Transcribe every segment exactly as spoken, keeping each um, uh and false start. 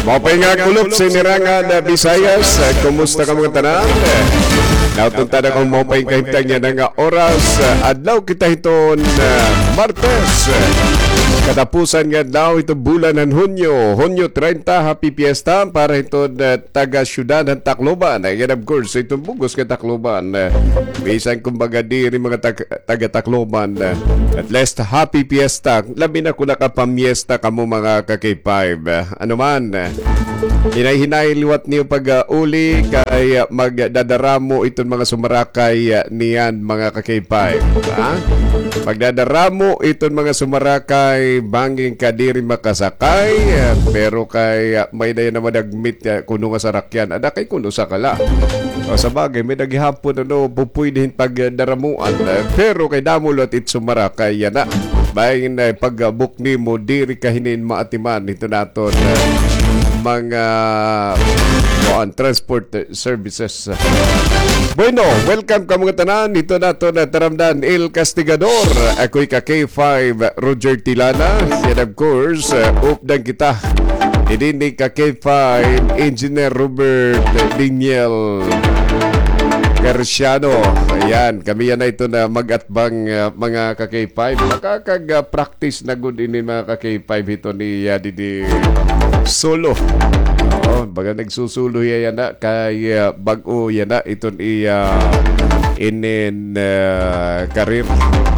Maupay nga kulop sa Nirangan na Visayas. Eh, kumusta kamo ngatanan? Eh, nauton ta na kon maupay nga kahimtang yana nga oras. Eh, adlaw kita hiton, eh, Martes. Eh, katapusan nga adlaw hiton bulan han Hunyo. Hunyo treinta, happy fiesta para hiton, eh, taga-syudad han Tacloban. And of course, hiton bug-os nga Tacloban. Eh, bisan kumbaga diri mga tag- taga-Tacloban. At least, happy fiesta. Labi na kon nakapamiesta kamo, mga ka-K five. Ano man, hinay-hinay liwat niyo pag-uli kay magdadaramo iton mga sumarakay niyan, mga ka-K five. Ha? Magdadaramo iton mga sumarakay, bangin ka diri makasakay, pero kay may dayon na madagmit kuno nga sarakyan. Ada kay kuno sa kala. O, sa bagay, may-ada gihapon, ano, pupuyde hin pagdaramuan. Eh, pero kay damo liwat it sumarakay yana. Bangin, eh, pag-book nimo, diri ka hinin maatiman hiton aton, eh, mga, kuan, transport, eh, services. Bueno, welcome kamo ngatanan hiton aton, eh, taramdan, El Castigador. Ako'y ka-K five, Roger Tilana. And of course, eh, updan kita Dinhi ka-K five, Engineer Robert Daniel Garciano. Ayan, kami yana iton mag-atbang, ah, mga ka-K five. Makakag-practice na gud ini, mga ka-K five, hiton iya didi solo. Oo, baga nagsusulo hiya yana kay, ah, bag-o yana iton iya inin, ah, career.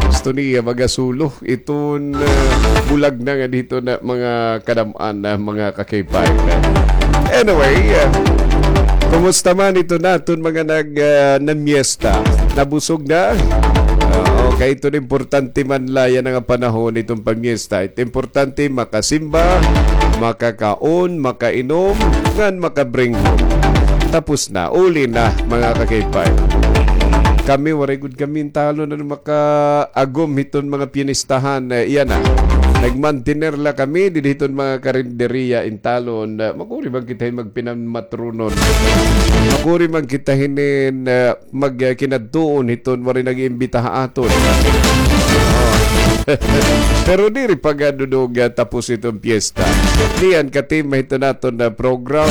Gusto niya magasulo. Iton, ah, bulag na nga dito na mga kadam-an na mga ka-K five. Anyway, ah, kumusta man iton aton mga nag, ah, namyesta? Nabusog na? Oo, kay iton importante man la yana nga panahon iton pamyesta. It importante makasimba, makakaon, makainom, ngan makabringon. Tapos na, uli na, mga ka-K five. Kami, waray gud kami hintalon nga makaagom hiton mga piyenistahan, eh, yana. Nagmantener la kami didi hiton mga karinderya hintalon. Eh, makuri man kita hin magpinamatronon. Makuri man kita hinin, eh, magkinadtuon hiton waray nag-iimbita ha aton. Oh. Pero diri pa gad dudog, ah, tapos iton piyesta. Niyan ka-team hiton aton na program.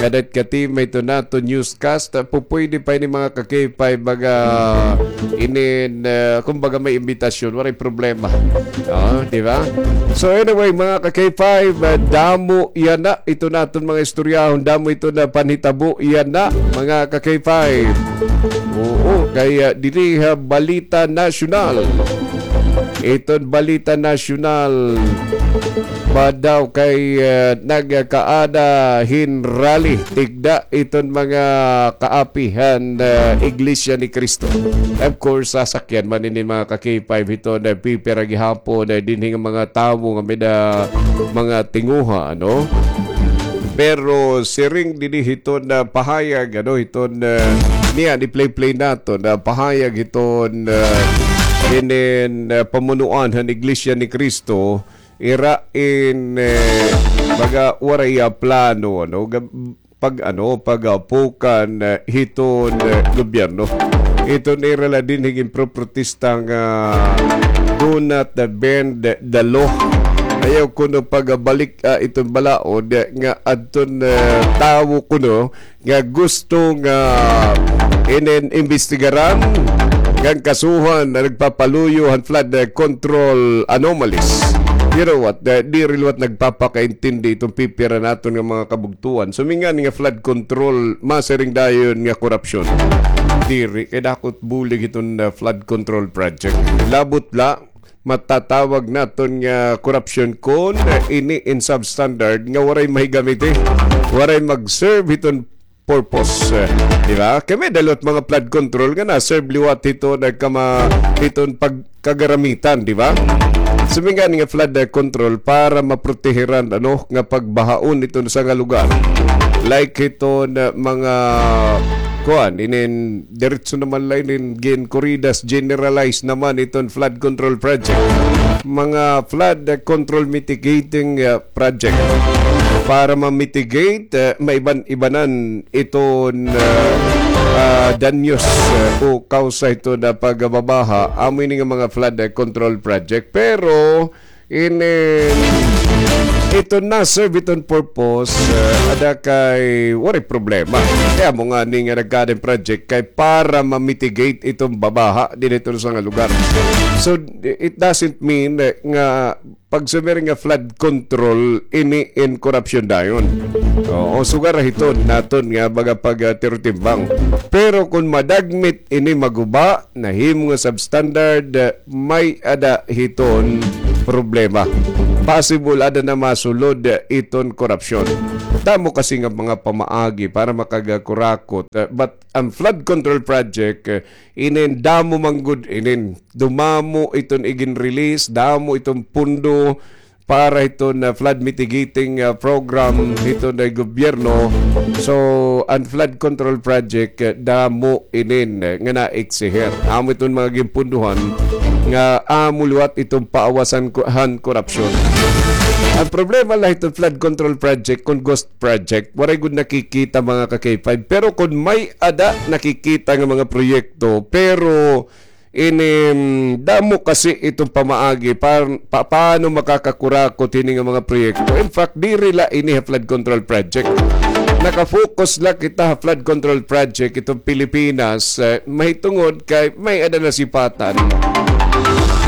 Nga dat ka-team hiton aton news cast, ah, pupuyde pa ini mga ka-K five, baga inin, ah, kumbaga may imbitasyon, waray problema. Oh, di ba? So anyway, mga ka-K five, ah, damo yana iton aton mga istoryahon, damo iton panhitabo yana, mga ka-K five. Oo, kay, ah, diri ha Balita Nasyonal. Iton Balita Nasyonal, ba daw kay, ah, nagkaada hin rally, tigda iton mga kaapi han, ah, Iglesia ni Cristo. Of course, sasakyan man ini mga ka-K five hiton, ah, pipira gihapon, ah, dinhi nga mga tawo nga may-ada mga tinguha, ano? Pero siring dinhi hiton, ah, pahayag, ano, hiton, ah, niyan, i-play-play naton, ah, pahayag hiton, ah, inin, ah, pamunuan han Iglesia ni Cristo, ira in, eh, baga waray, ah, plano, ano, gab-, pag, ano, pag, ah, pukan, eh, hiton, eh, gobyerno. Iton ira la dinhi ginproprotesta nga do not, ah, bend the law. Ayaw kuno pagbalik, ah, iton balaod, eh, nga adton, eh, tawo kuno nga gusto nga inin imbestigaran ngan kasuhan nga nagpapaluyo han flood, eh, control anomalies. You know what? Eh, diri liwat nagpapakaintindi iton pipira naton nga mga kabugtuan. Sumingan nga flood control, masiring dayon nga korupsyon. Diri, kay dako it bulig hiton, ah, flood control project. Labot la, matatawag naton nga korupsyon kon, ah, ini in substandard nga waray mahigamit, eh. Waray mag-serve hiton purpose, eh, di ba? Kay may-ada liwat mga flood control nga na-serve liwat hiton, ah, kama-, hiton pag- kagaramitan, di ba? Sumingan nga flood, eh, control para maprotehiran, ano, nga pagbahaon iton usa nga lugar. Like hiton mga, kuan, inin diretso naman la inin ginkuridas, generalized naman iton flood control project. Mga flood, eh, control mitigating, eh, project para ma-mitigate, eh, maiban-ibanan iton, ah, ah, danyos, ah, o kawsa hiton pagbabaha, amo ini nga mga flood, ah, control project. Pero inin Ito na-serve iton purpose, eh, ada kay waray problema. Kay amo ngani nga nagkaada hin project kay para ma-mitigate iton babaha dinhi hiton usa nga lugar. So, it doesn't mean, eh, nga pagsumer nga flood control ini in korupsyon dayon. Oo, sugar hiton naton nga baga pag, ah, tiro timbang. Pero kon madagmit ini maguba, nahimo nga substandard, ah, may-ada hiton problema. Possible ada na masulod, ah, iton korupsyon. Damo kasi nga mga pamaagi para makagakurakot, ah, but an flood control project, ah, inin damo man gud inin. Dumamo iton igin-release, damo iton pundo para hiton, ah, flood mitigating, ah, program hiton gobyerno. So, an flood control project, ah, damo inin, eh, nga naeksihir. Amo iton mga ginpundohan nga amo liwat iton paawasan ko-, han korupsyon. An problema la hiton flood control project, kon ghost project, waray gud nakikita, mga ka-K five. Pero kon may-ada nakikita nga mga proyekto, pero ini, mm, damo kasi iton pamaagi pa-, pa-, paano makakakurakot hini nga mga proyekto. In fact, diri la ini ha flood control project. Naka-focus la kita ha flood control project iton Pilipinas, eh, mahitungod kay may-ada nasipatan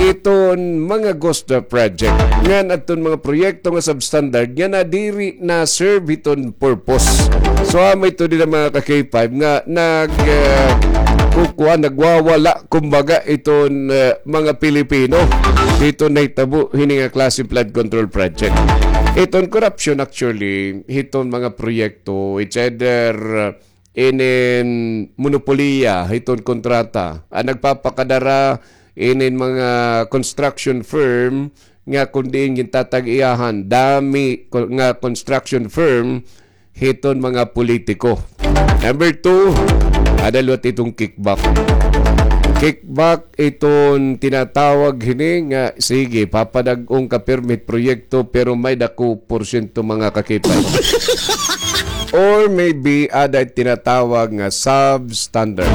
iton mga ghost project. Ngan adton mga proyekto nga substandard nga nadiri na-serve hiton purpose. So, amo ito dinhi, mga ka-K five, nga nag, eh, kukuha, nagwawala, kumbaga, iton, eh, mga Pilipino. Dito nahitabo hini nga klase flood control project. Iton korupsyon, actually, hiton mga proyekto, it's either, eh, inin monopoliya hiton kontrata. An nagpapakadara inin mga construction firm nga kon diin gintatag-iyahan, dami ko-, nga construction firm hiton mga politiko. Number two, ada liwat iton kickback. Kickback iton tinatawag hini nga, sige, papadag-on ka pirmi hit proyekto, pero may dako porsyento, mga ka-K five. Or maybe, ada tinatawag nga substandard.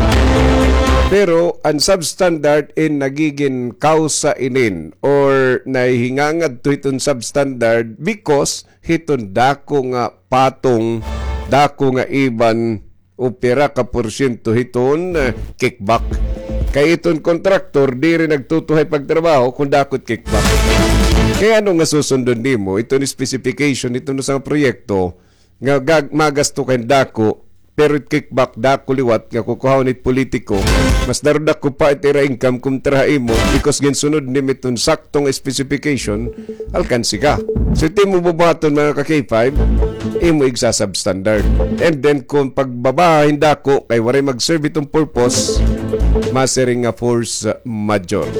Pero an substandard in nagigin kausa inin or nahihingangad to iton substandard because hiton dako nga patong, dako nga iban o pira ka porsyento hiton, eh, kickback. Kay iton kontraktor, diri nagtutuhay pagtrabaho kon dako it kickback. Kay ano nga susundon nimo iton specification hiton usa nga proyekto nga gag-, magasto ka hin dako, pero it kickback dako liwat nga kukuhawon hit politiko, mas daru dako pa it ira income kontra ha imo because ginsunod nimo iton saktong specification, alkanse ka. So, it imo bubuhaton, mga ka-K five, imo igsa-substandard. And then, kon pagbaba hin dako kay waray mag-serve iton purpose, masiring nga force majeure.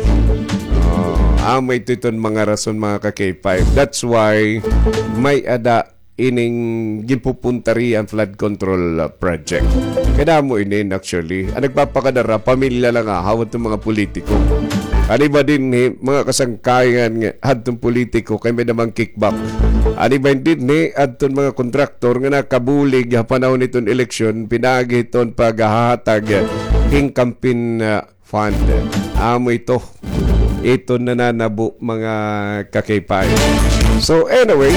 Oh, amo ito iton mga rason, mga ka-K five. That's why may-ada ining ginpupuntaria an flood control, uh, project. Kay damo inin, actually. An nagpapakadara, pamilya la nga, hawat ng mga politiko. An iba dinhi, mga kasangkayan nga, hadtong politiko, kay may-ada man kickback. An iba dinhi, hadton mga kontraktor nga nakabulig ha panahon hiton eleksyon, pinaagi hiton paghahatag hin campaign, uh, fund. Amo ito. Ito nananabo, mga ka-K five. So anyway,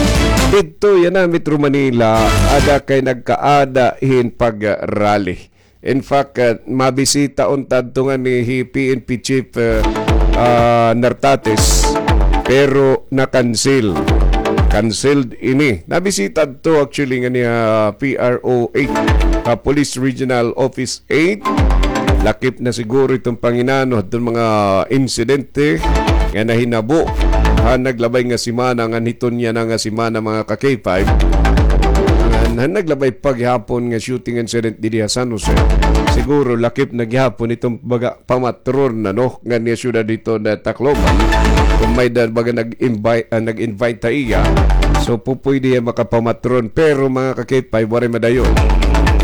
didto yana Metro Manila, ada kay nagkaada hin pag-rally. In fact, uh, mabisita unta adto ngani hi P N P Chief, uh, uh, Nartates, pero na-cancel. Cancelled ini. Nabisita adto actually ngani, uh, P R O eight, uh, Police Regional Office eight. Lakip na siguro iton panginano hadton mga insidente nga nahinabo han naglabay nga semana, ngan hiton yana nga semana, mga ka-K five. Ngan han naglabay pa gihapon nga shooting incident didi ha San Jose. Siguro lakip na gihapon iton baga pamatron na, no, ngan nga syudad hiton Tacloban. Kon may-ada baga nag-invite, ah, nag-invite ha iya. So, pupwede hiya makapamatron. Pero, mga ka-K five, waray madayon.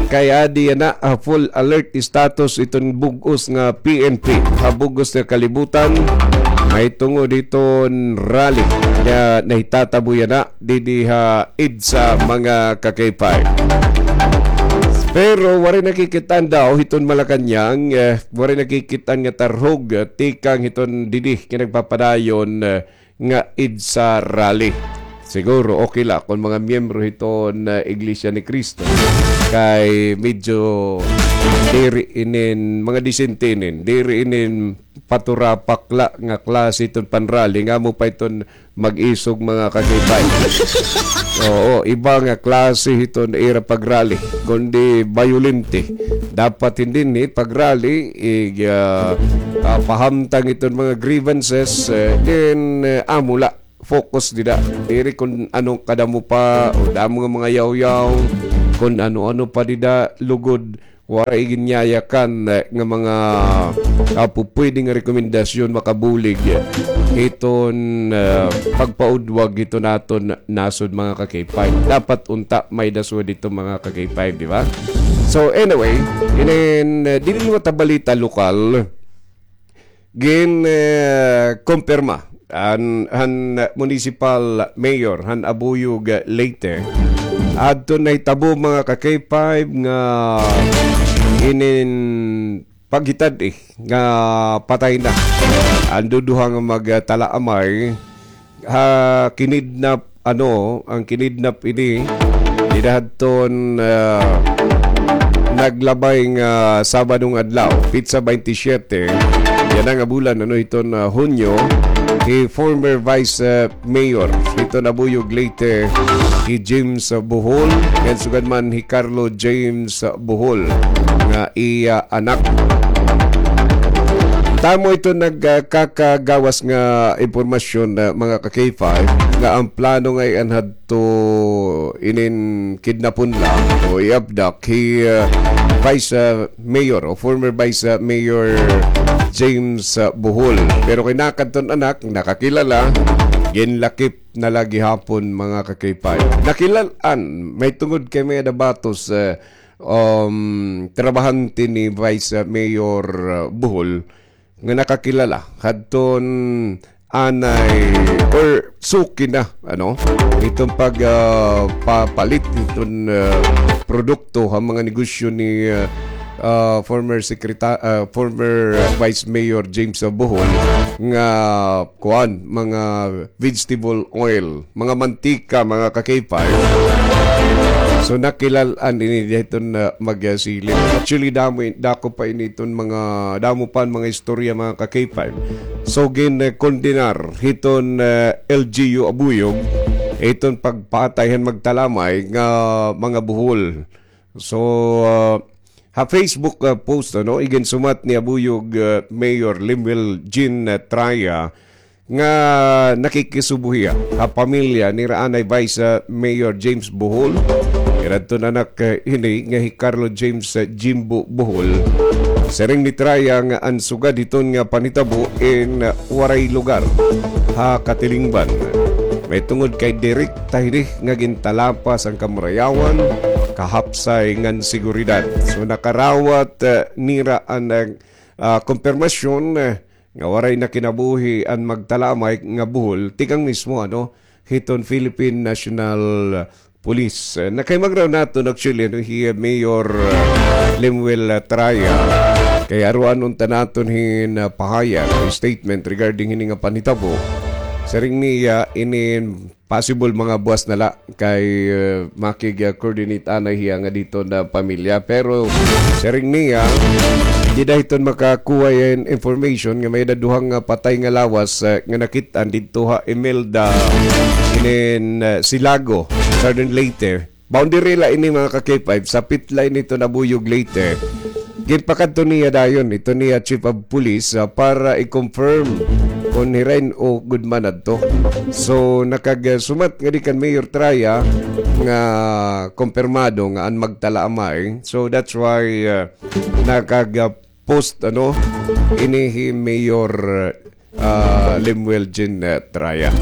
Kay adi yana, ah, full alert status iton bug-os nga P N P. Ha bug-os nga kalibutan, mahitungod hiton rally nga nahitatabo yana didi ha EDSA, mga ka-K five. Pero waray nakikit-an daw hiton Malacañang, eh, waray nakikit-an nga tarhog, eh, tikang hiton didi nga nagpapadayon, eh, nga EDSA rally. Siguro okay la kon mga miyembro hiton, ah, Iglesia ni Cristo. Kay medyo diri inin, mga disente inin, diri inin paturapak la nga klase iton panrally, nga amo pa iton mag-isog, mga ka-K five. Oo, iba nga klase hiton ira pagrally, kundi bayolente. Dapat hindi ni pagrally, ig, ah, ah, pahamtang iton mga grievances, eh, then, eh, amo la focus dida. Diri kun ano kadamo pa, o damo nga mga yawyaw, kun ano-ano pa dida, lugod, waray ginyayakan, eh, nga mga, ah, pupwede nga rekomendasyon makabulig, eh, hiton, ah, pagpaudwag hiton aton nasod, mga ka-K five. Dapat unta may dasod dito, mga ka-K five, di ba? So, anyway, inin, eh, diri mo ta balita lokal, gin, eh, kumpirma an, han municipal mayor han Abuyog, eh, Leyte. Adto nahitabo, mga ka-K five, nga inin paghitad-i nga patay na an duduha nga magtalaamay ha kinidnap, ano, an kinidnap ini, dida hadton, ah, naglabay nga Sabado nga adlaw, petsa baynte siyete yana nga bulan, ano, hiton, ah, Hunyo, hi former Vice, ah, Mayor hiton Abuyog Leyte, hi James, ah, Bohol, ngan sugad man hi Carlo James, ah, Bohol, nga iya anak. Tamo ito nagkakagawas nga impormasyon, ah, mga ka-K five, nga an plano ngay-an hadto inin kidnapon la o i-abduct hi, ah, Vice, ah, Mayor o former Vice, ah, Mayor James, ah, Bohol. Pero kay nakadton anak, nakakilala, ginlakip na la gihapon, mga ka-K five. Nakilal-an, may tungod kay may dabatos, ah, um, trabahante ni Vice, ah, Mayor, ah, Bohol nga nakakilala hadton anay or suki na, ano, iton pag, ah, papalit iton, ah, produkto ha mga negosyo ni, ah, ah, former secreta-, ah, former Vice Mayor James, ah, Bohol nga kuan, mga vegetable oil, mga mantika, mga ka-K five. So, nakilal-an ini didto nga magsilip. Actually, damo, dako pa ini iton mga, damo pa an mga istorya, mga ka-K five. So, gin, eh, kondenar hiton, eh, L G U Abuyog iton pagpatay han magtalamay nga mga buhol. So, ah, ha Facebook, ah, post, ano, iginsumat ni Abuyog, ah, Mayor Lemuel Jean, ah, Traya nga nakikisubo hiya ha pamilya ni raanay Vice, ah, Mayor James Bohol. Iradton anak, ah, ini nga hi Carlo James, ah, Jimbo Bohol. Siring ni Traya nga an sugad hiton nga panhitabo in, ah, waray lugar ha katilingban. May tungod kay direkta hini nga gintalapas an kamurayawan, kahapsay ngan seguridad. So, nakarawat, eh, nira an, eh, ah, kumpirmasyon, eh, nga waray na kinabuhi an magtalamay nga buhol, tikang mismo, ano, hiton Philippine National Police. Eh, nakahimag raw naton, actually, ano, hi Mayor, eh, Lemuel, eh, Traya. Kay aruan unta naton hin, eh, pahayag, statement regarding hini nga panhitabo. Siring niya, inin possible mga buwas na la kay, eh, makig-, ah, coordinate anay hiya nga didto nga pamilya. Pero siring niya, dida hiton makakuha hin information nga may-ada duha nga patay nga lawas, eh, nga nakit-an didto ha Imelda, inin, eh, Silago, Southern Leyte. Boundary la ini, mga ka-K five, sapit la ini hiton Abuyog, Leyte. Ginpakadto niya dayon iton iya chief of police, ah, para i-confirm kon hira in-o gud man adto. So, nakagsumat ngadi kan Mayor Traya nga kumpirmado nga an magtalamay. So, that's why, ah, nakag-, ah, post, ano, ini hi Mayor, ah, Lemuel Jean, eh, Traya.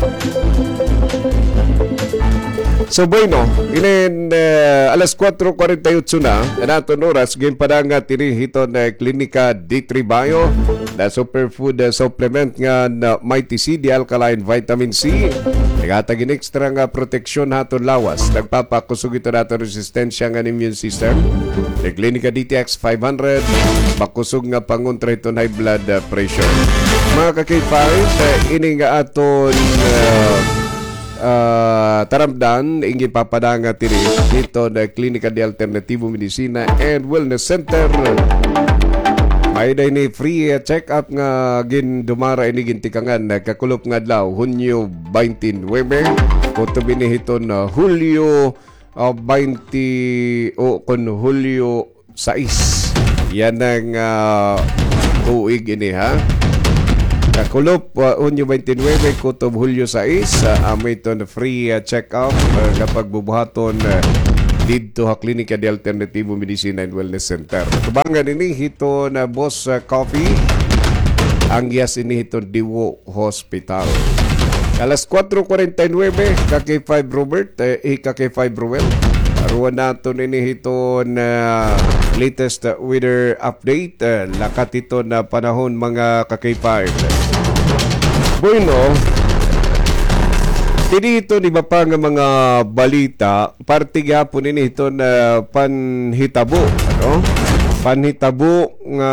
So, bueno, inin, eh, alas kuwatro kuwarenta y otso na an aton oras, ginpadangat ini hiton, eh, Klinika D three Bio, the superfood, eh, supplement nga, ah, Mighty C, the alkaline vitamin C. Naghatag hin extra nga proteksyon ha aton lawas. Nagpapakusog ito ha aton resistensya ngan immune system. An Klinika D T X five hundred, makusog nga pangontra hiton high blood, ah, pressure. Mga ka-K five, eh, ini nga aton, ah, ah, taramdan, in ginpapadangat diri hiton, ah, Klinika de Alternativo Medicina and Wellness Center. May-ada ini free, ah, check-up nga gindumara ini gintikangan, ah, kakulop nga adlaw, Hunyo twenty-nine, kutob ini hiton, ah, Hulyo, ah, twenty, o kon Hulyo sais. Yana nga, ah, tuig ini, ha? Kakulop, ah, Hunyo twenty-nine, kutob Hulyo sais, ah, amo iton free, ah, check-up, ah, nga pagbubuhaton, ah, didto ha Klinika de Alternativo Medicina and Wellness Center. Tubangan ini hiton, ah, Boss, ah, Coffee, ang yas ini hiton Diwo Hospital. Alas kuwatro kuwarenta y nuwebe, ka K five Robert, eh, hi ka K five Ruel. Aruan naton ini hiton, ah, latest, ah, weather update. Eh, lakat hiton, ah, panahon, mga ka K five. Bueno, tini hiton iba pa nga mga balita, parte gihapon ini hiton, ah, panhitabo, ano? Panhitabo nga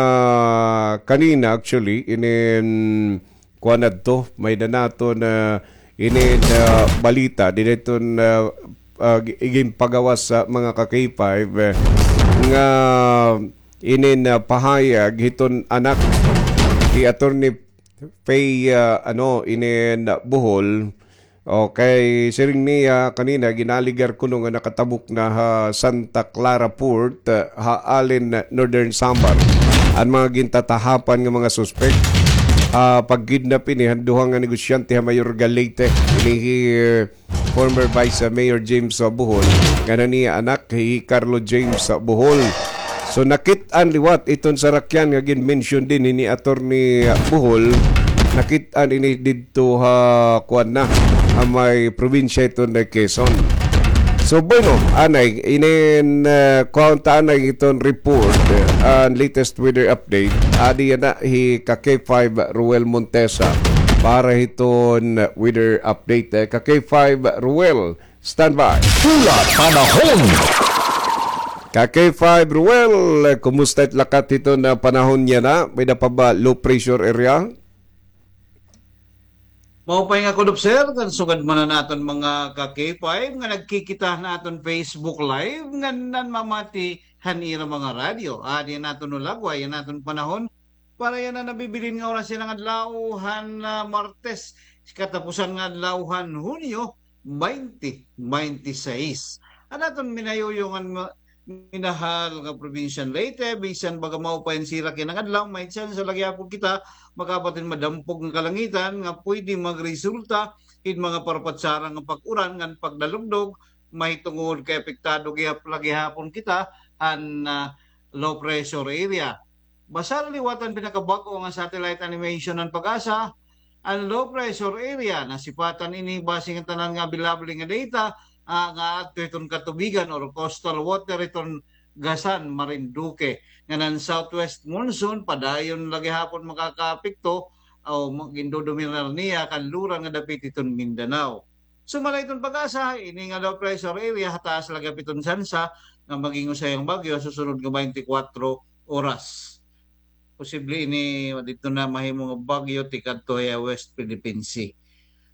kanina, actually, inin kuan adto, may-ada naton, ah, inin, ah, balita, diri iton, ah, ah, gi-, ginpagawas sa mga ka K five, eh, nga inin, ah, pahayag hiton anak ni Attorney Faye, ah, ano, inin, ah, Bohol. Okay, siring niya kanina, gin-alegar kuno nga nakatabok na ha Santa Clara Port, ah, ha Allen, Northern Samar, an mga gintatahapan nga mga suspek, ah, pag-kidnap ini han duha nga negosyante ha Mayorga, Leyte. Ini hi, ah, former Vice Mayor James, ah, Bohol, ngan an iya anak hi Carlo James, ah, Bohol. So, nakit-an liwat iton sarakyan nga gin-mention dinhi ni Attorney, ah, Bohol. Nakit-an ini didto ha, kuan na, ha may probinsya iton na Quezon. So, bueno, anay, inin, ah, kuan ta anay iton report, ah, an latest weather update. Adi yana hi ka K five Ruel Montesa para hiton weather update. Eh, ka K five Ruel, standby. Pula Panahon. Ka K five Ruel, eh, kumusta it lakat hiton na panahon yana? May-ada pa ba low pressure area? Maupay nga kulop, sir, kan sugad man an aton mga ka K five nga nagkikita han aton Facebook Live ngan nanmamati han ira mga radyo. Adi an aton lagway, an aton panahon para yana nabibilin nga oras yana nga adlaw han, ah, Martes, katapusan nga adlaw han Hunyo, twenty twenty-six. An aton minayuyong ngan ma-, minahal nga probinsya han Leyte, bisan baga maupay an sirak yana nga adlaw, may tsansa la gihapon kita makaabot hin madampog nga kalangitan nga pwede magresulta hin mga parapatsara nga pag-uran ngan pagdalugdog, mahitungod kay apektado gihap-, la gihapon kita han, ah, low pressure area. Basta liwat an pinakabag-o nga satellite animation han PAGASA, an low pressure area, nasipatan ini base nga tanan nga available nga data, ah, nga adto hiton katubigan or coastal water hiton Gasan, Marinduque, ngan an southwest monsoon padayon la gihapon makakaapekto o ma-, gindodominar niya kanluran nga dapit hiton Mindanao. Sumala hiton PAGASA, ini nga low pressure area hataas la gihap hiton tsansa nga maging usa hiya nga bagyo ha susunod nga twenty-four oras. Posible ini didto na mahimo nga bagyo tikadto ha West Philippine Sea.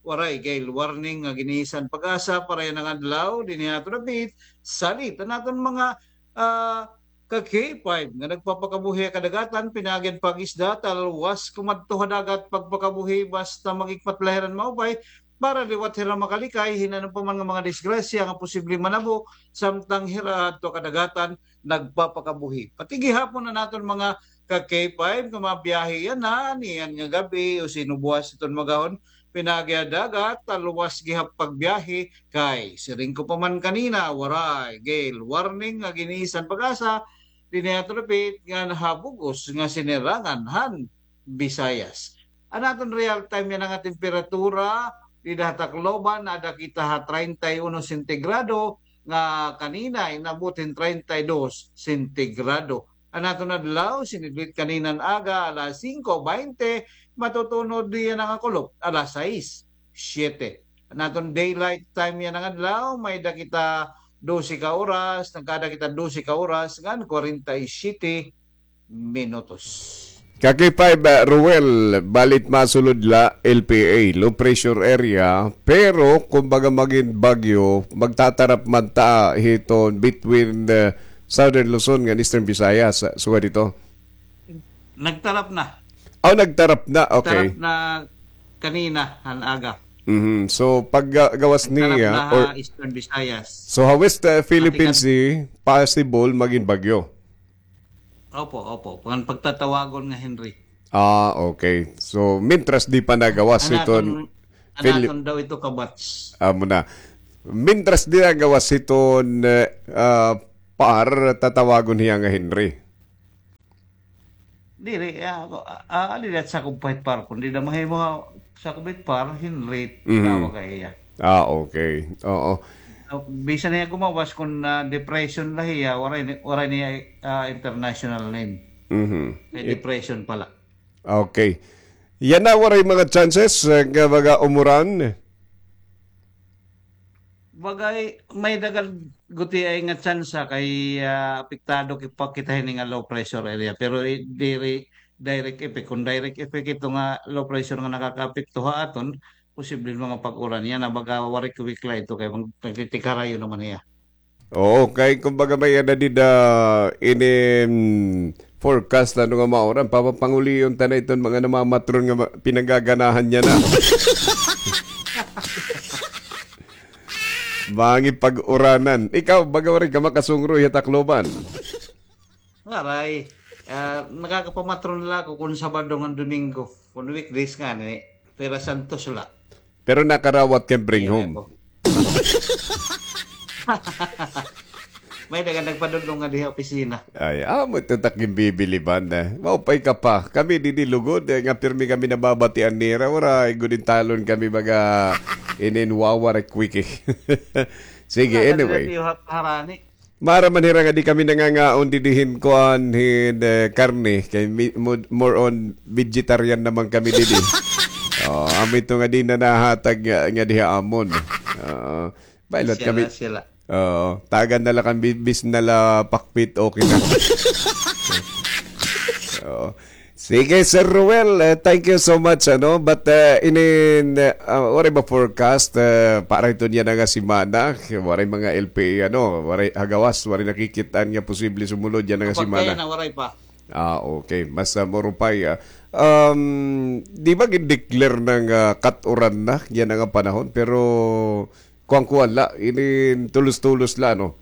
Waray gale warning nga gin-iisyu han PAGASA para yana nga adlaw dinhi ha aton dapit. Salit an aton mga, ah, ka K five nga nagpapakabuhi ha kadagatan, pinaagi han pag-isda, talwas kumadto ha dagat pagpakabuhi basta mag-ikmat la hira hin maupay para liwat hira makalikay hin ano pa man nga mga disgrasya nga posible manabo samtang hira adto ha kadagatan nagpapakabuhi. Pati gihapon an aton mga ka K five nga mabiyahe yana niyan nga gab-i o sinubuas iton magahon pinaagi ha dagat, talwas gihap pagbiyahe kay siring ko pa man kanina, waray gale warning nga gin-iisyu han PAGASA dinhi ha aton dapit ngan ha bug-os nga sinirangan han Visayas. An aton real time yana nga temperatura dida ha Tacloban, ada kita ha treinta y uno sentigrado, nga kanina inabot hin treinta y dos sentigrado. An aton adlaw, sinidlit kanina nga aga, alas singko baynte, matutunod yana nga kulop, alas sais, siyete. An aton daylight time yana nga adlaw, may-ada kita dose ka oras, nagkaada kita dose ka oras, ngan kwarenta y siyete minutos. Ka K five, ah, Ruel, bali it masulod la, L P A, low pressure area, pero kumbaga magin bagyo, magtatarap man ta hiton between, ah, Southern Luzon ngan Eastern Visayas, ah, sugad hito. Nagtarap na. Oh, nagtarap na. Okay. Nagtarap na kanina, han aga. Mhm. So, pag, ah, gawas niya, ha Eastern Visayas. So, ha West, ah, Philippine Sea, possible magin bagyo. Opo, opo. Pag-, pagtatawagon nga Henry. Ah, okay. So, mintras di pa nagawas hiton, an aton daw ito kabats. Amo na. Mintras di nagawas hiton, eh, ah, par, tatawagon hiya nga Henry. Diri, ah, ako, ah, ah, diri at sakop pa hit par. Kun di na mahimo ha sakop hit par, Henry, tawag ka hiya. Ah, okay. Oo. So, bisan hiya gumawas kun, ah, depression la hiya, waray ni, waray niya, ah, international name. Mhm. Kay depression pala. Okay. Yana, waray mga chances, eh, nga mga umuran? Bagay, may dagan gutiay nga tsansa kay, ah, apektado ki-, pa kita hini nga low pressure area. Pero i-, diri direct effect. Kung direct effect ito nga low pressure nga nakakaapekto ha aton, posible mga pag-uran yana, baga waray kuwikla ito kay mag-, nagtitikarayo naman niya. Oo, kay kumbaga may ada dida inin forecast ano nga mauran, papapangulion ta na iton mga namamatron nga ma-, pinagaganahan niya na. Mangi pag-uranan. Ikaw, baga waray ka makasungroy ha Tacloban. Waray. Ah, nakakapamatron la ako kun Sabado ngan Domingo. Kun weekdays ngani, Tierra Santos la. Pero nakarawat ka bring home. May dagan nagpadulong nga diha opisina. Ay, amo ito takin bibiliban na. Maupay ka pa. Kami didi lugod, eh, nga pirmi kami nababatian nira. Waray gud intalon kami baga inin wawa rek wiki. Sige, anyway. Harani. Mara man hira nga di kami nangangaon didi hin kuan hin, eh, karne. Kay mi-, mo-, more on vegetarian naman kami didi. Oh, amo ito nga di na nahatag nga, nga diha amon. Oo. Bailot kami. Oo. Tagan na la kami bis na la pakpit, okay na. Oo. Sige, Sir Ruel, eh, thank you so much, ano. But, eh, inin, eh, ah, waray ba forecast, eh, para ito niya na nga semana? Waray mga L P A, ano, waray hagawas, waray nakikit-an nga posible sumulod yana nga semana. Kaya na, waray pa. Ah, okay. Mas, ah, maupay, ah. Um, di ba gin-declare na nga kat-uran na yana nga panahon? Pero kuan-kuan la, inin tulos-tulos la, no?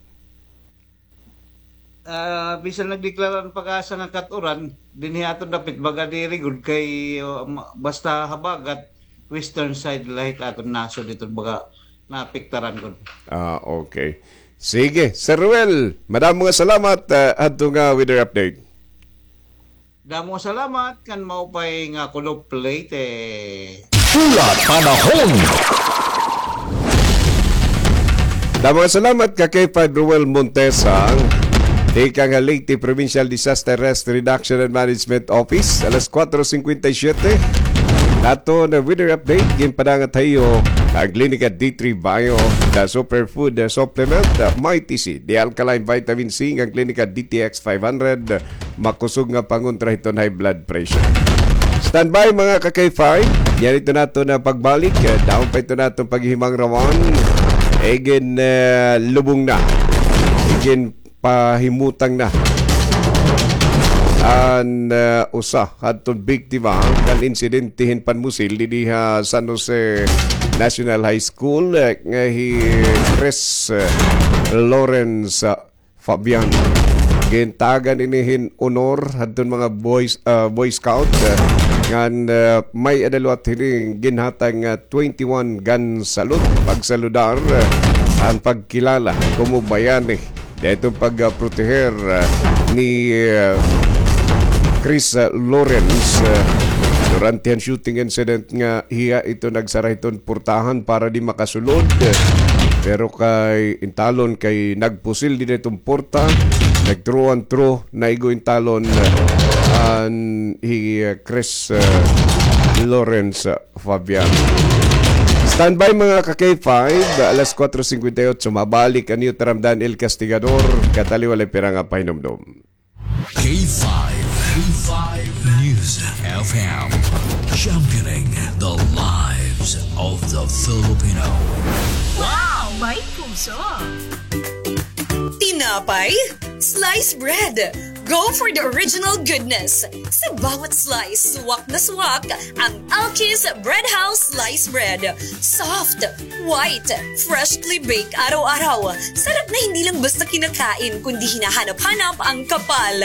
Ah, bisan nagdeklara an PAGASA nga kat-uran, dinhi aton dapit baga diri gud kay, oh, ma-, basta habagat, western side la hit aton nasod didto baga naapektaran gud. Ah, okay. Sige, Sir Ruel, madamo nga salamat, ah, hadto nga weather update. Damo salamat kan maupay nga kulop Leyte. Pula Panahon. Damo nga salamat ka K five Ruel Montesa. Tikang ha Leyte Provincial Disaster Risk Reduction and Management Office, alas kuwatro singkwenta y siyete. Aton weather update, ginpadangat ha iyo an Klinika D three Bio, the superfood supplement, Mighty C, the alkaline vitamin C, ngan Klinika D T X five hundred, makusog nga pangontra hiton high blood pressure. Standby, mga ka-K five. Yana ito naton pagbalik. Eh, dahon pa ito naton paghihimangrawan. Igin, eh, lubong na. Igin pahimutang na an, eh, usa hadton biktima kan insidente hin panmusil didi ha San Jose National High School, eh, nga hi Chris, eh, Lawrence, ah, Fabian. Gintagan ini hin honor hadton mga boys, ah, Boy Scout, ah, ngan, ah, may-ada liwat hini ginhatag nga twenty-one gun salute, pagsaludar, ah, an pagkilala komo bayani. Dito pagproteher, ah, ni, ah, Chris, ah, Lawrence, ah, durante an shooting incident nga hiya ito nagsara hiton portahan para di makasulod. Pero kay intalon kay nagpusil didi hiton porta, nag-throw and throw, naigo intalon, ah, an hi, ah, Chris, ah, Lawrence, ah, Fabian. Standby, mga ka-K five, alas kuwatro singkwenta y otso, mabalik an iyo taramdan, El Castigador, kataliwala pira nga pahinumdom. K five, K five News. F M, championing the lives of the Filipino. Wow! May puso! Tinapay? Slice bread! Go for the original goodness! Sa bawat slice, suwak na suwak ang Alki's Bread House Slice Bread. Soft, white, freshly baked araw-araw. Sarap na hindi lang basta kinakain, kundi hinahanap-hanap ang kapal.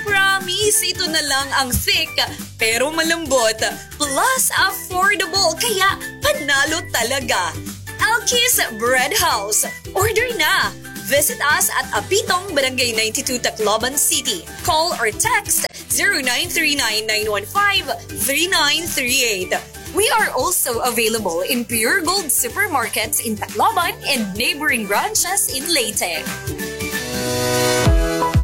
Promise, ito na lang ang thick, pero malambot. Plus, affordable, kaya panalo talaga. Alki's Bread House. Order na! Visit us at Apitong, Barangay ninety-two, Tacloban City. Call or text zero nine three nine nine one five three nine three eight. We are also available in Pure Gold supermarkets in Tacloban and neighboring branches in Leyte.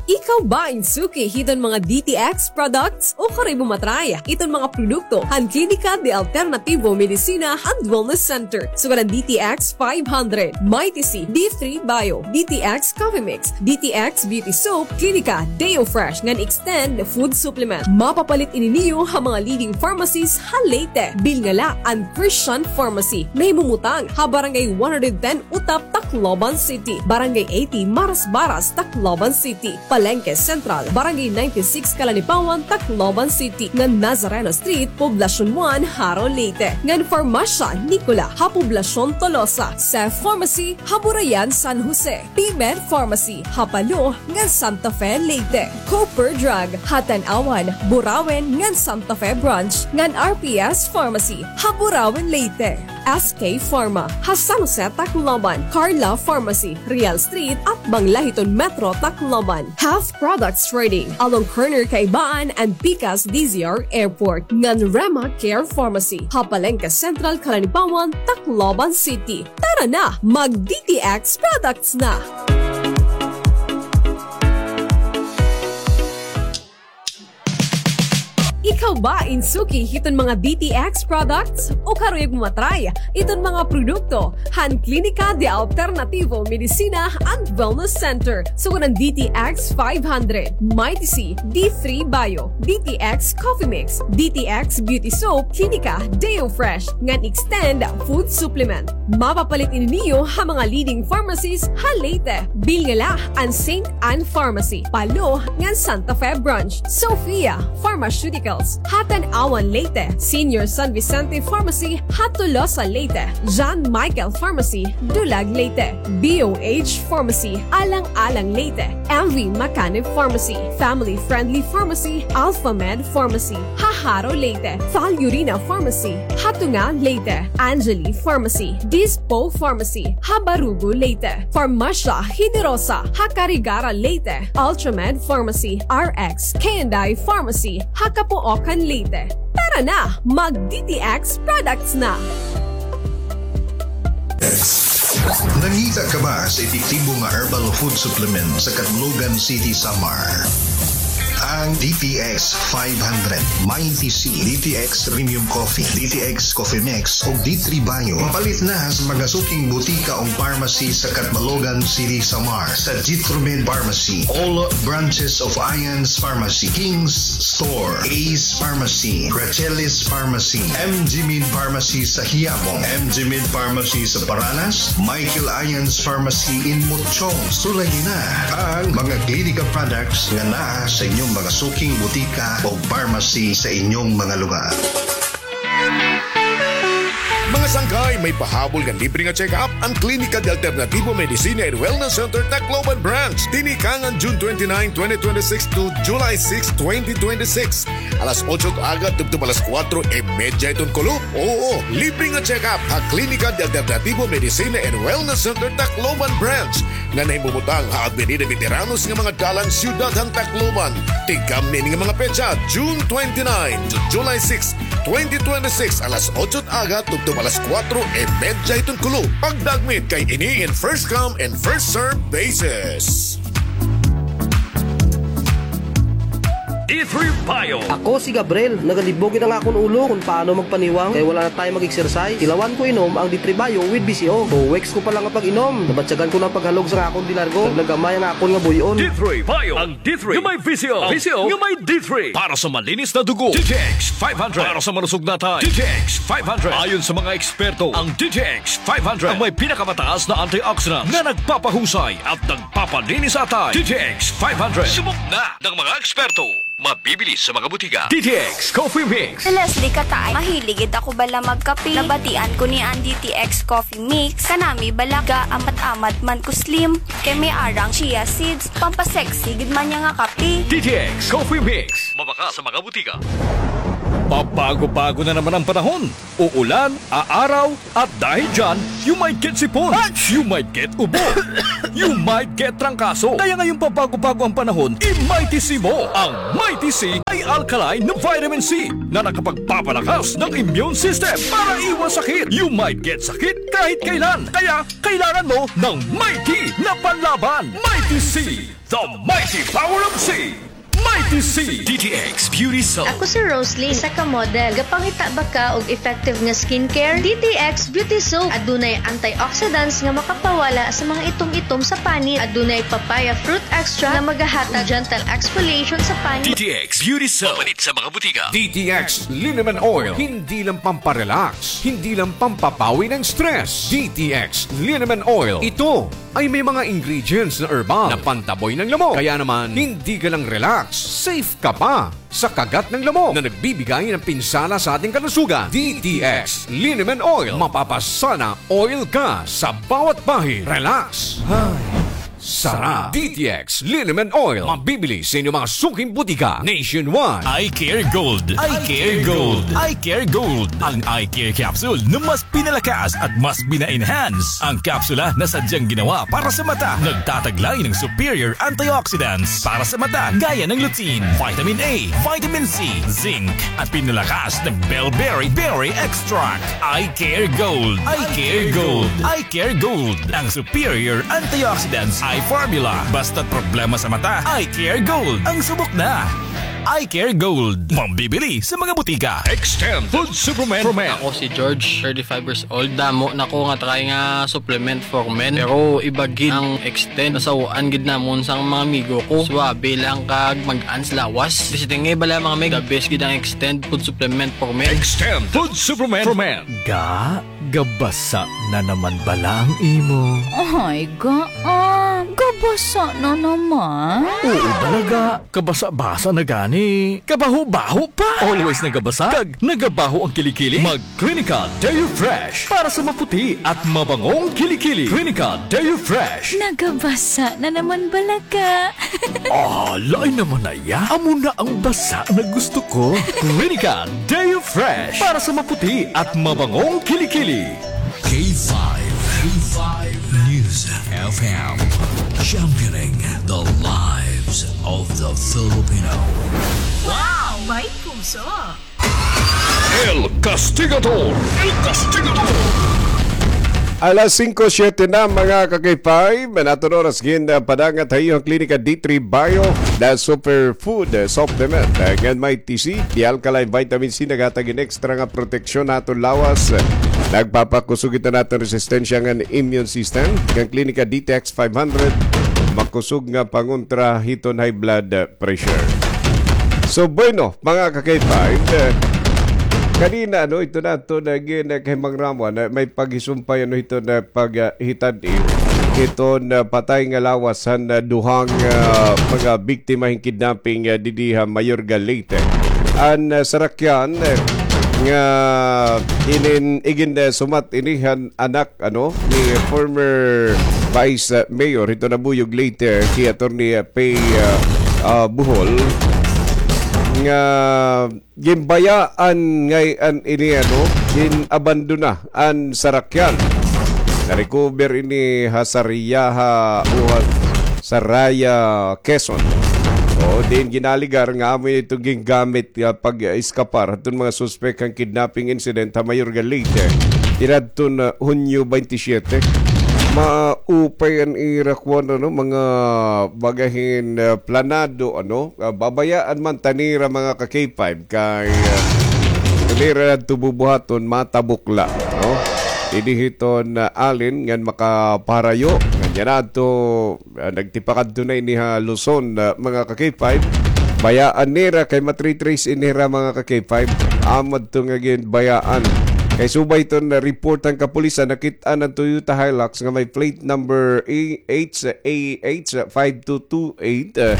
Ikaw ba in suki hiton mga D T X products? Ukari mo matry iton mga produkto han Klinika de Alternativo Medicina and Wellness Center. Sugad an D T X five hundred, Mighty C, D three Bio, D T X Coffee Mix, D T X Beauty Soap, Klinika Deo Fresh ngan Extend Food Supplement. Mapapalit ini niyo ha mga leading pharmacies ha Leyte. Bilngala an Christian Pharmacy, nahimumutang ha Barangay one hundred ten Utap, Tacloban City, Barangay eighty Marasbaras, Tacloban City, Palengke Central, Barangay ninety-six Calanipawan, Tacloban City, ngan Nazareno Street, Poblacion one, Jaro, Leyte, ngan Farmasya Nicola ha Poblacion Tolosa, Seth Pharmacy ha Burayan, San Jose, P-Med Pharmacy ha Palo ngan Santa Fe, Leyte, Cooper Drug ha Tanauan, Burauen ngan Santa Fe Branch, ngan R P S Pharmacy ha Burauen, Leyte. S K Pharma ha San Jose, Tacloban, Carla Pharmacy, Real Street, atbang la hiton Metro Tacloban, Half Products Trading, along corner Kaibaan and Picas D Z R Airport, ngan Rema Care Pharmacy ha Palengke Central, Calanipawan, Tacloban City. Tara na, mag D T X products na! Ikaw ba in suki hiton mga D T X products? Ukari mo matry iton mga produkto han Klinika de Alternativo Medicina and Wellness Center, sugad an D T X five hundred, Mighty C, D three Bio, D T X Coffee Mix, D T X Beauty Soap, Klinika Deo Fresh, ngan Extend Food Supplement. Mapapalit ini niyo ha mga leading pharmacies ha Leyte. Bilngala an Saint Ann Pharmacy, Palo ngan Santa Fe Branch, Sophia Pharmaceuticals ha Tanauan, Leyte, Senior San Vicente Pharmacy ha Tolosa, Leyte, John Michael Pharmacy, Dulag, Leyte, B O H Pharmacy, Alang-alang, Leyte, M V Macanib Pharmacy, Family Friendly Pharmacy, Alpha Med Pharmacy ha Jaro, Leyte, Falurina Pharmacy ha Tunga, Leyte, Angeli Pharmacy, Dispo Pharmacy ha Barugo, Leyte, Farmasya Generosa ha Carigara, Leyte, Ultramed Pharmacy, R X K and I Pharmacy ha Capoocan, Leyte. Tara na, mag D T X products na! Nangita ka ba sa epektibo nga herbal food supplement sa Catbalogan City, Samar? Ang D T X five hundred, Mighty C, D T X Premium Coffee, D T X Coffee Mix, ug D three Bio. Mapalit na sa mga suking butika o pharmacy sa Catbalogan City, Samar, sa Jitromed Pharmacy, all branches of Ions Pharmacy, King's Store, Ace Pharmacy, Rachelis Pharmacy, M G Med Pharmacy sa Quiapo, M G Med Pharmacy sa Paranas, Michael Ions Pharmacy in Mochong. Sulayi na ang mga Klinika products nga naa sa inyong mga suking butika o pharmacy sa inyong mga lugar. Mga sangkay, may pahabol nga libre nga check-up an Klinika de Alternativo Medicina and Wellness Center Tacloban Branch. Tinikangan June twenty-nine, twenty twenty-six to July six, twenty twenty-six. Alas otso aga tubtob alas kuwatro y medya hiton kulop. Oo, libre nga check-up ha Klinika de Alternativo Medicina and Wellness Center Tacloban Branch nga nahimumutang ha Avenida Veteranos nga mga dalan, siyudad han Tacloban. Tikang niini nga mga petsa, June twenty-nine to July six, twenty twenty-six, alas otso aga tubtob alas kuwatro y medya hiton kulop. Pagdagmit kay ini in first come and first serve basis. D three Bio. Ako si Gabriel. Nagalibog gid an akon ulo kon paano magpaniwang kay wala na time mag-exercise. Tilawan ko inom ang D three Bio with B C O. Two weeks ko pa lang nga pag-inom, nabatyagan ko na an paghalog sa akon de largo. Naglagamay ang akon nga buy-on. D three Bio. Ang D three nga may V C O. V C O nga may D three. Para sa malinis na dugo, D T X five hundred. Para sa malusog na atay, D T X five hundred. Ayon sa mga eksperto, ang D T X five hundred ang may pinakamataas na antioxidant na nagpapahusay at nagpapalinis sa atay. D T X five hundred. Subok na ng mga eksperto. Mabibili sa mga butika. D T X Coffee Mix. Si Leslie Kataay, mahilig gid ako bala magkape. Nabatian ko niya an D T X Coffee Mix. Kanami bala ga-amat-amat man ko slim. Kay may arang chia seeds, pampasexy gid man niya nga kape. D T X Coffee Mix. Mabaka sa mga butika. Pabago-bago na naman ang panahon. Uulan, aaraw, at dahil dyan, you might get sipon, you might get ubo, you might get trangkaso. Kaya ngayong pabago-bago ang panahon, i-Mighty C mo. Ang Mighty C ay alkaline na vitamin C na nakapagpapalakas ng immune system para iwas sakit. You might get sakit kahit kailan. Kaya kailangan mo ng Mighty na panlaban. Mighty C, the mighty power of C. Mighty C. D T X Beauty Soap. Ako si Roslyn, isa ka model. Gapangita ba ka og effective nga skincare? D T X Beauty Soap. Adunay antioxidants nga makapawala sa mga itom-itom sa panit. Adunay papaya fruit extract nga magahatag gentle exfoliation sa panit. D T X Beauty Soap. Mapalit sa mga butika. D T X Liniment Oil. Hindi lang pamparelax, hindi lang pampapawi ng stress. D T X Liniment Oil. Ito ay may mga ingredients na herbal na pantaboy ng lamok. Kaya naman, hindi ka lang relax, safe ka pa sa kagat ng lamok na nagbibigay ng pinsala sa ating kalusugan. D T X Liniment Oil. Mapapasana oil ka sa bawat bahid. Relax. Ay, sarap. D T X Liniment Oil. Mabibili sa inyong mga suking butika nationwide. Eye Care Gold. Eye Care Gold. Eye Care Gold. Ang Eye Care Capsule na mas pinalakas at mas pina-enhance ang kapsula na sadyang ginawa para sa mata. Nagtataglay ng superior antioxidants para sa mata, gaya ng lutein, vitamin A, vitamin C, zinc, at pinalakas ng bellberry berry extract. Eye Care Gold. Eye Care Gold. Eye Care Gold. Ang superior antioxidants eye formula. Basta't problema sa mata, Eye Care Gold ang subok na. Eye Care Gold. Mabibili sa mga butika. Extend Food Supplement for Men. Ako si George, thirty-five years old. Damo na ko nga try nga supplement for men. Pero iba gid ang Extend. Nasaw-an gid namon sang mga amigo ko. Suabe lang kag mag-ans lawas. Basta nga bala mga meg, the best gid ang Extend Food Supplement for Men. Extend Food Supplement for Men. Ga, gabasa na naman bala ang imo? Ay, ga, ah, gabasa na naman? Oo, bala ga. Kabasa-basa na gani. Kabaho-baho pa. Always nagabasa kag nagabaho ang kilikili. Mag Clinica Deo Fresh para sa maputi at mabangong kilikili. Clinica Deo Fresh. Nagabasa na naman bala ka. Ah, lain naman na iya. Amo na ang basa na gusto ko. Clinica Deo Fresh para sa maputi at mabangong kilikili. K five, K five News F M, championing the lives of the Filipino. Wow, may puso. El Castigador. El Castigador. Alas singko siyete na, mga ka-K five. An aton oras gin, ah, padangat ha iyo an Klinika D three Bio, the superfood, ah, supplement, ah, ngan may T C, the alkaline vitamin C, naghatag hin extra nga proteksyon ha aton lawas. Nagpapakusog ito han aton resistensya ngan immune system. Ngan Klinika D T X five hundred, makusog nga pangontra hiton high blood, ah, pressure. So, bueno, mga ka-K five, eh, kanina, ano, ito na, ito na, gin-, eh, kay Mang Ramon, eh, may paghisumpay, ano, ito na pag, ah, hitad-i, ito na patay nga lawas han, ah, duhang, ah, mga biktima hin kidnapping, ah, didi ha Mayorga, Leyte. An, ah, sarakyan, eh, nga inin-, igin, eh, sumat ini han anak ano, ni former Vice, uh, Mayor hito Nabuyog Leyte, si Attorney, uh, Pay, uh, uh, Bohol, nga ginbayaan ngay-an ini, ano, gin-abandona an sarakyan. Na-recover ini ha Sariaya, ha, o ha Saraya, Quezon. O, diin ginaligar nga amo ito gingamit nga pag-eskapar hiton mga suspek han kidnapping incident ha Mayorga, Leyte, tinadton, ah, Hunyo twenty-seven. maupay an ira kuan, ano, mga bagahin, ah, planado, ano, ah, babayaan man ta nira, mga ka-K five, kay, ah, diri nira adto bubuhaton, matabok la, no? Didi hiton, ah, Allen ngan makaparayo, ngan yana adto, ah, nagtipakadto na ini ha Luzon, ah, mga ka-K five. Bayaan nira kay ma-trace ini hira, mga ka-K five. Amo adto nga ginbayaan. Kay subay hiton, ah, report han kapulisan, nakit-an an Toyota Hilux nga may plate number A H A H five two two eight, ah,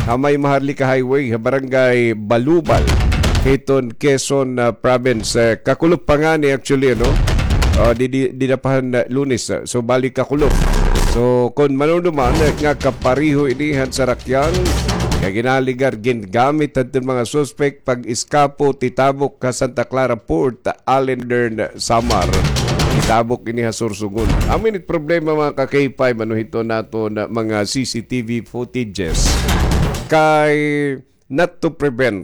ha may Maharlika Highway, ha Barangay Balubal, hiton Quezon, ah, Province. Ah, kakulop pa ngani, actually, ano? Ah, di, di, dida pa han, ah, Lunes, ah. So, bali kakulop. So, kon manunuman, ah, nga kapareho ini han sarakyan, nga ginaligar, gingamit hadton mga suspek pag-eskapo, titabok ha Santa Clara Port, Allen, Northern Samar. Titabok ini ha Sorsogon. Amo ini it problema, mga ka-K five, ano, hiton aton mga C C T V footages. Kay not to prevent,